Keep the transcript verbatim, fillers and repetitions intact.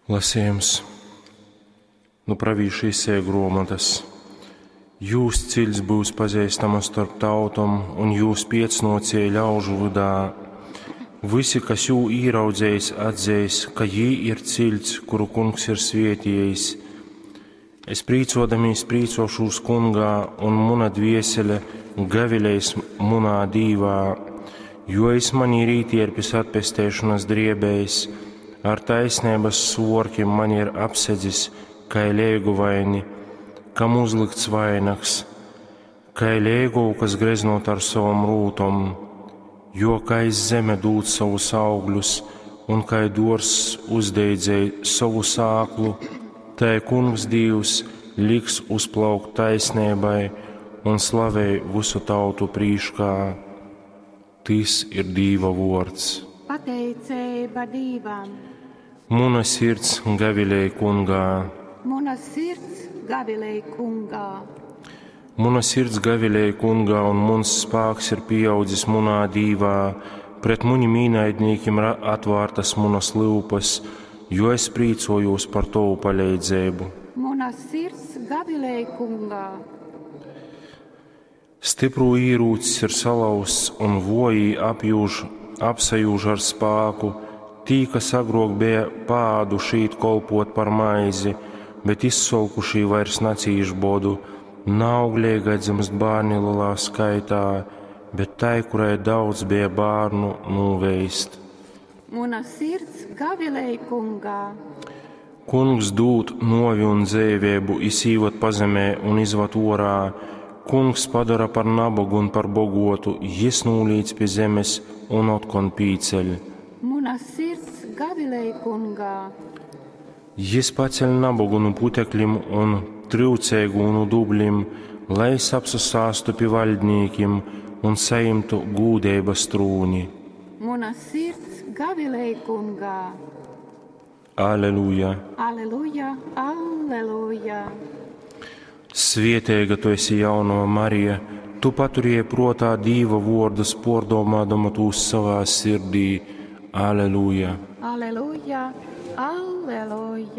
Lasījums nu pravīša Isaija gruomotas. Jūs ciļts būs pazīstama starp tautom un jūs piecnocēji ļaužu vydā. Visi, kas jū īraudzējis, atzeis, ka jī ir ciļts, kuru kungs ir svietījis. Es prīcodamīs prīcošūs kungā, un muna dviesele gavilēs munā dīvā, jo es man ir ītierpis atpestēšanas driebējs, ar taisnības svorkim man ir apsedzis, kai lēguvaini, kam uzlikts vainags, kai lēgovu, kas greznot ar savam rūtom, jo kai zeme dūd savus augļus un kai dōrzs uzdeidzēj sovu sāklu, tai kungs Dīvs liks uzplaukt taisnībai un slavei visu tautu prīškā. Tys ir Dīva vōrds. Pateiceiba Dīvam. Muna sirds gavilej kungā. Muna sirds gavilej kungā. Muna sirds gavilej kungā, un muns spāks ir pieaudzis munā Dīvā. Pret munim īnaidnīkim atvārtas munas lyupas, jo es prīcojos par tovu paleidzeibu. Muna sirds gavilej kungā. Stiprū īrūcis ir salauzts un vojī apjūž, apsajūž ar spāku. Tī, kas agrok bija pāduši īt kolpot par maizi, bet izsolkušī vairs nacīš bodu. Naaugļīgai dzimst bērni lielā skaitā, bet tai, kurai daudz bija bērnu, nūveist. Muna sirds gavilej kungā. Kungs dūd novi un dzēvēbu, izsīvot pazemē un izvat orā. Kungs padara par nabagu un par bogotu, jis nūlīdz pie zemes un otkon pīceļ. Muna sirds gavilej kungā. Jis paceļ nabagu nu putekļim un tryuceigu nu dubļim, lai es apsasāstu pi vaļdnīkim un saimtu gūdeibas trūni. Muna sirds gavilej kungā. Aleluja! Aleluja, aleluja. Svieteiga tu esi jaunava Marija, tu paturēji protā Dīva vārdus, pordomādama tūs savā sirdī. Aleluja! Aleluja, aleluja.